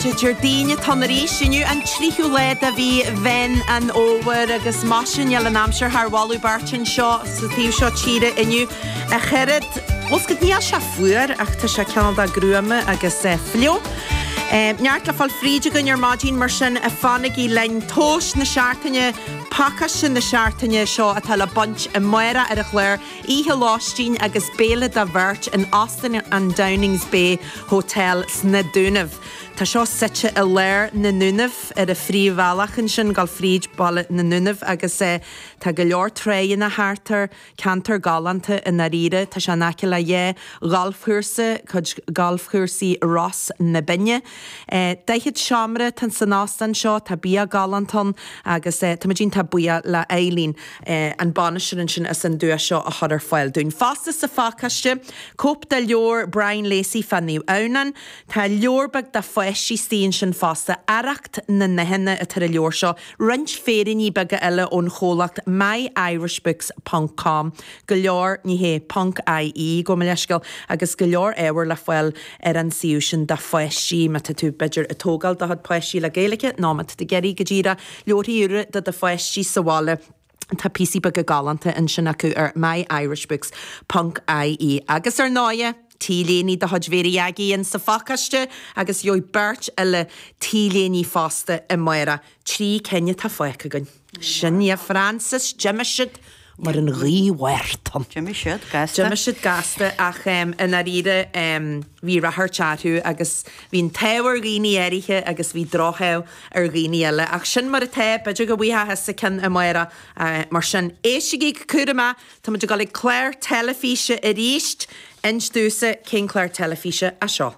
Déardaoin atá ann arís inniu, an tríú lá de mhí Mheán an Fhómhair agus maise níl an aimsir thar mholadh beirte anseo sa taobh seo tíre inniu. A chaired, bhfuil 's agat, níl sé fuar ach tá sé cineál de gruama agus fliuch. Neart le fáil fríd againn ar maidin mar sin fanaigí linn. Tomhas na seachtaine, pacáiste na seachtaine seo atá le baint amárach ar an chlár, oíche lóistín agus béile do bheirt in Óstán an Downings Bay Hotel sna Dúnaibh. Tá seo suite i lár na nDúnaibh, ar an phríomhbhealach ansin, dul fríd baile na nDúnaibh agus tá go leor tráigheanna thart air, ceantar galánta i ndáiríre. Tá sé in aice le dhá ghalfchúrsa, cuid galfchúrsaí Ros na Binne. 40 seomra atá san óstán seo, tá bia galánta ann agus táimid iontach buíoch le Eileen. an bainisteoir ansin as an duais seo a chur ar fáil dúinn. Fosta sa phacáiste, cóip de leabhar Brian Lacey fá Naomh Adhamhnán. Tá leabhar beag do pháistí istigh ansin fosta, Arracht na nDathanna atá ar an leabhar seo, roinnt féiríní beaga eile ón chomhlacht myirishbooks ponc com, go leor, ní hé, ponc ie, gabh mo leithscéal, agus go leor ábhair le fáil ar an suíomh sin do pháistí, má tá tú, b'fhéidir, ag tógáil do chuid páistí le Gaeilge nó má tá tú ag iarraidh go díreach Leabharthaí úra do do pháistí sa bhaile. Tá píosaí beaga galánta ansin acu ar myirishbooks ponc ie. Agus ar ndóighe, T-léiní de chuid Mhéirí Aggie in sa phacáiste agus gheobhaidh beirt eile T-léiní fosta amárach. 3 cinn atá fágtha againn. Sin í a Frances, d'imigh siad mar an ghaoth Mhártain. D'imigh siad gasta. D'imigh siad gasta ach i ndáiríre bhí ráchairt orthu agus bhí an t-ádh ar dhaoine áirithe agus bhí drochádh ar dhaoine eile. Ach sin mar atá, b'fhéidir go bhfaighfeá thusa ceann amárach. Mar sin, éistigí go cúramach, táimid ag dul ag clár teilifíse arís. Inis domhsa cén clár teilifíse é seo.